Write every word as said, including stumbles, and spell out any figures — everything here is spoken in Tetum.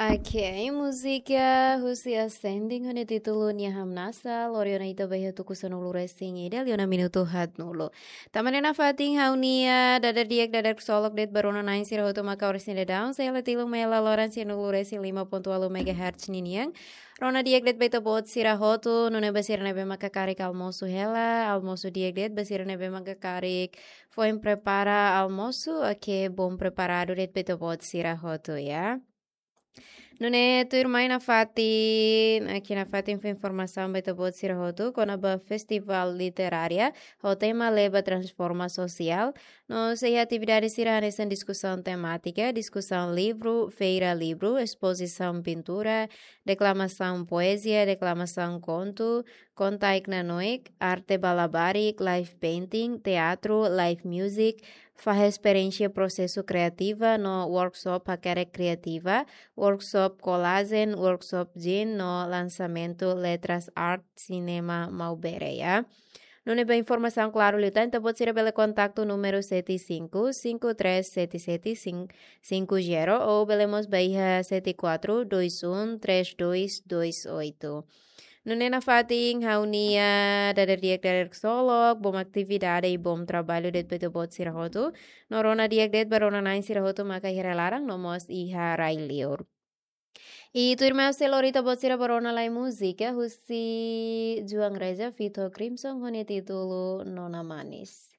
Ok, múzika husi Ascending ho nia títulu Nia Hamnasa, lori ona ita ba iha tuku sanulu-resin-ida, liu ona minutu haatnulu. Tanba ne'e nafatin ha'u-nia dadeer-di'ak, dadeer ksolok de'it ba rona-na'in sira hotu maka oras ne'e daudaun, sei hela tilun mai laloran sianulu-resin-lima pontu ualu megahertz ninian. Rona di'ak de'it ba ita-boot sira hotu, nune'e ba sira ne'ebé maka karik almosu hela, almosu di'ak de'it, ba sira ne'ebé maka karik foin prepara almosu, ok, bom preparadu de'it ba ita-boot sira hotu, ya. Nune'e tuirmai nafatin, ok, nafatin fó informasaun ba ita-boot sira hotu kona-ba Festival Literária ho tema Leba Transforma Sosiál. No sei iha atividade sira hanesan diskusaun temátika, diskusaun livru, feira livru, espozisaun pintura, deklamasaun poezia, deklamasaun kontu, konta ai-knanoik, arte ba labarik, live painting, teatru, live music, fahe esperiénsia prosesu kreativa no workshop hakerek kreativa, workshop kolajen, workshop jin no lansamentu Letras Art Cinema Maubere, ya. Nune'e ba informasaun klaru liután, ita-boot sira bele kontaktu númeru sete cinco, cinco três sete sete cinco zero ou bele mós ba iha sete quatro dois um três dois dois oito. Nune'e nafatin ha'u-nia dadeer-di'ak, dadeer ksolok, bom atividade i bom traballu de'it ba ita-boot sira hotu. No rona di'ak de'it ba rona-na'in sira hotu maka iha rai-laran no mós iha rai-liur. I tuirmai sei lori ita-boot sira ba rona lai múzika husi João Reza feat Crimson ho nia títulu Nona Manis.